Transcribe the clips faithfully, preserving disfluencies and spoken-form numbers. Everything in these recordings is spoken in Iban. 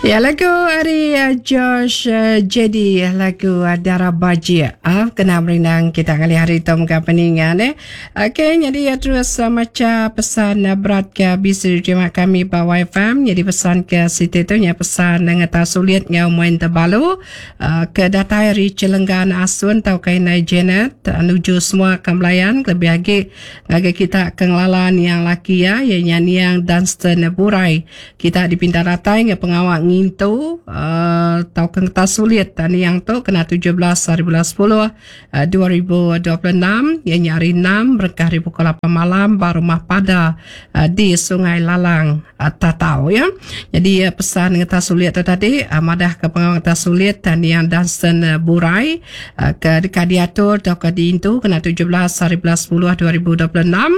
Ya lagu ari uh, George uh, J D lagu uh, Dara Bajik ah kena merindang kita kali hari tu muka peningan eh. Okey, jadi ya terus uh, maca pesan uh, berat ke bisi terima kami ba Y F M. Jadi pesan ke siti tu nya pesan dengan tak sulit ngau main terbalu uh, ke datai ari Celenggan Asun tau kai nai Janet uh, nuju semua ke melayan, lebih lagi ngagai kita ke ngelalan yang laki ya ya yang Dunstan Burai. Kita dipinta datai nge pengawak ngintu uh, tau ke ngetas sulit dan yang tu kena tujuh belas hari bulan sepuluh uh, dua ribu dua puluh enam yang hari enam berkah hari pukul lapan malam ba rumah pada uh, di Sungai Lalang uh, Tatau ya. Jadi uh, pesan ngetas sulit tu tadi uh, madah ke pengawak ngetas sulit dan yang Dunstan uh, Burai uh, ke dekat diatur atau ke diintu kena tujuh belas hari bulan sepuluh dua ribu dua puluh enam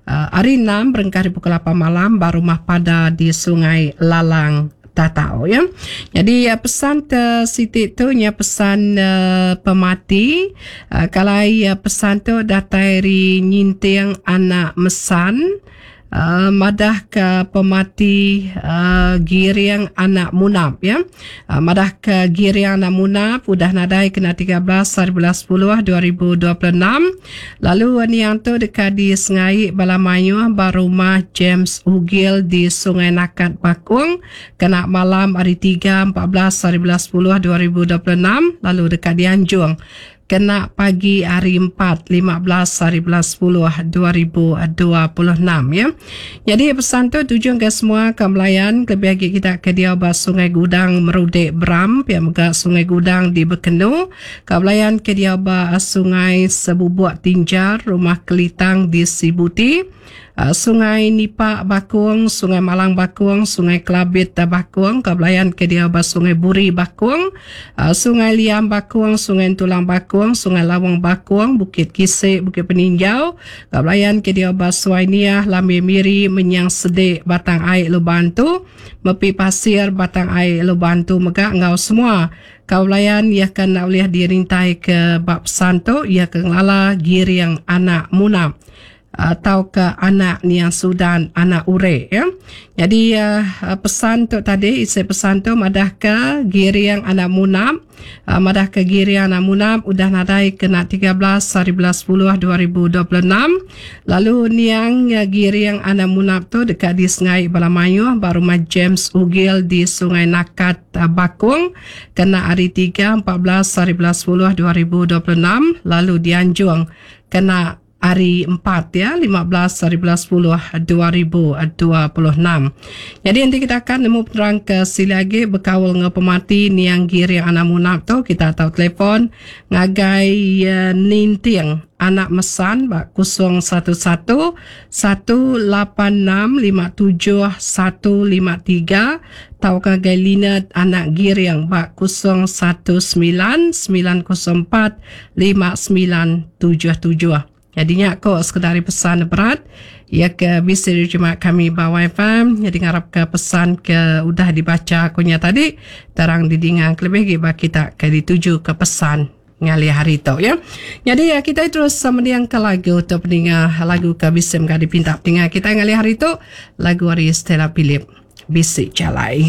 uh, hari enam berengkah hari pukul lapan malam ba rumah pada di Sungai Lalang Tatau ya. Jadi uh, pesan te siti tu nya pesan uh, pemati uh, kalau uh, pesan tu datai ri Nyinting anak Mesan uh, madah ke pemati uh, Giring anak Munap ya. Uh, madah ke Giring anak Munap udah nadai kena tiga belas hari bulan sepuluh dua ribu dua puluh enam. Lalu uh, ni yang tu dekat di Sengai Balamayuh ba rumah James Ugil di Sungai Nakat Bakung kena malam hari tiga empat belas hari bulan sepuluh dua ribu dua puluh enam, lalu dekat di Anjung kena pagi hari empat lima belas hari bulan sepuluh dua ribu dua puluh enam ya. Jadi pesan tu tujuan ke semua ke melayan, lebih lagi kita ke dia ba Sungai Gudang Merudek Bram, pihak mega Sungai Gudang di Bekenu, ke melayan ke dia ba Sungai Sebubuk Tinjar, Rumah Kelitang di Sibuti, uh, Sungai Nipak Bakung, Sungai Malang Bakung, Sungai Kelabit Bakung, Kebelayan ke dia ba Sungai Buri Bakung, uh, Sungai Liam Bakung, Sungai Tulang Bakung, Sungai Lawang Bakung, Bukit Kisik, Bukit Peninjau, Kebelayan ke dia ba Suai Niah, Lambi Miri, Menyang Sedik, Batang Air Lubantu, Mepi Pasir, Batang Air Lubantu mega ngau semua kaulayan ia kan nak boleh dirintai ke bab santo ia ke ngelala Giring anak Munap atau ke anak Niang Sudan anak Ure ya. Jadi uh, pesan tu tadi, isi pesan tu madah ke Giring anak Munap uh, madah ke Giring anak Munap udah nadai kena tiga belas hari bulan sepuluh dua ribu dua puluh enam. Lalu niang uh, Giring anak Munap tu dekat di Sungai Balamayuh ba rumah James Ugil di Sungai Nakat uh, Bakung kena hari tiga empat belas hari bulan sepuluh dua ribu dua puluh enam, lalu dianjung kena hari empat ya lima belas hari bulan sepuluh dua ribu dua puluh enam. Jadi nanti kita akan nemu penerang ke sili lagi berkawal dengan pemati niang Giring anak Munap tu, kita tahu telefon ngagai uh, Ninting anak Mesan bak kosong satu satu satu lapan enam lima tujuh satu lima tiga tau ngagai Lina anak Giring bak kosong satu sembilan sembilan kosong empat lima sembilan tujuh tujuh. Jadinya aku sekedar pesan berat ya ke bisa diterima kami ba Y F M. Jadi ngarap ke pesan ke udah dibaca akunya tadi terang didingang, lebih lagi bagi kita ke dituju ke pesan ngali hari tu ya. Jadi ya kita terus mendiang ke lagu untuk pendengar, lagu ke bisa menggadi dipinta pendengar kita ngali hari tu, lagu hari Stella Philip, Bisik Jalai.